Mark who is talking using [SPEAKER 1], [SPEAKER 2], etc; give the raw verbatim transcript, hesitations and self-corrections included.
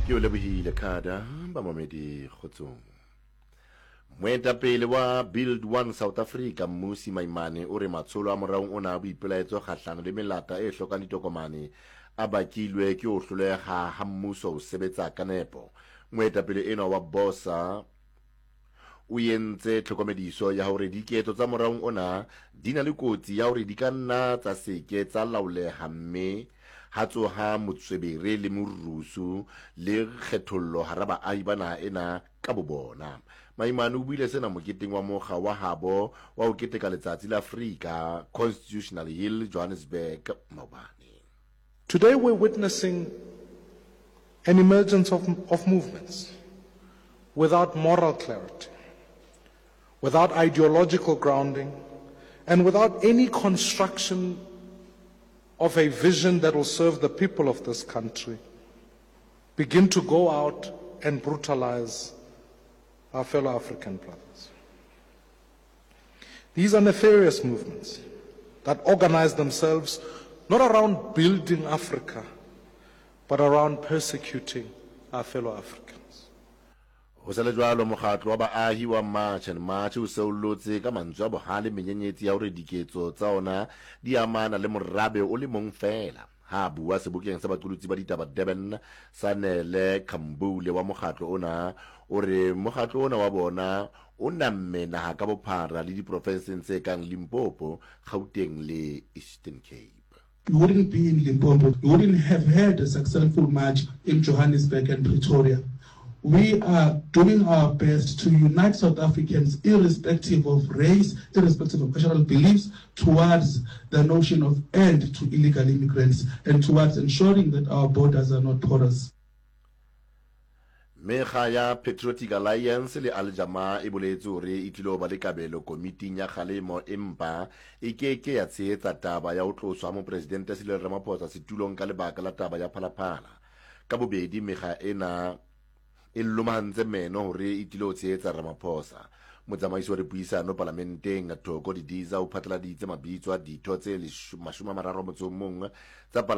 [SPEAKER 1] Ke o lebohile Kada bamamedi kgotsong. Moetapele wa Build One South Africa Mmusi Maimane o re matsholo a moraong ona a boipelaetso kgahlano le melata e hlokang ditokomane a bakilwe ke ho hloleha ha mmuso ho sebetsa ka nepo. Moetapele enwa wa BOSA o entse tlhokomediso ya hore diketso tsa moraong ona di na le kotsi ya hore di ka nna tsa se ke tsa laoleha mme ha tsoha motswebere le morusu le kgethollo hara baahi ba naha ena ka bobona. Maimane o buile sena moketeng wa mokga wa habo wa ho keteka letsatsi la Afrika Constitutional Hill Johannesburg maobane.
[SPEAKER 2] Today we're witnessing an emergence of, of movements without moral clarity, without ideological grounding, and without any construction of a vision that will serve the people of this country, begin to go out and brutalize our fellow African brothers. These are nefarious movements that organize themselves not around building Africa, but around persecuting our fellow Africans.
[SPEAKER 1] Ho sa le jwalo, mokgatlo wa baahi wa March and March o seollotse ka mantswe a bohale menyenyetsi ya hore diketso tsa ona di amana le morabe o le mong feela. Ha a bua sebokeng sa baqolotsi ba ditaba Durban, Sanele Khambule wa mokgatlo ona o re mokgatlo ona wa bona o namme naha ka bophara le diprofenseng tse kang Limpopo, Gauteng le Eastern Cape.
[SPEAKER 3] You wouldn't be in Limpopo. You wouldn't have had a successful march in Johannesburg and Pretoria. We are doing our best to unite South Africans, irrespective of race, irrespective of cultural beliefs, towards the notion of end to illegal immigrants and towards ensuring that our borders are not porous.
[SPEAKER 1] Mekga ya Patriotic Alliance le Al Jama-ah e boletse hore e tlilo ba le kabelo komiting ya kgalemo empa e ke ke ya tshehetsa taba ya ho tloswa ha Mopresidente Cyril Ramaphosa setulong ka lebaka la taba ya Phalaphala. Ka bobedi mekga ena e lomahantse meno hore e tlilo tshehetsa Ramaphosa. Motsamaisi wa dipuisano palamenteng Thoko Didiza o phatlaladitse mabitso a ditho tse mashome a mararo a motso o mong tsa palamente.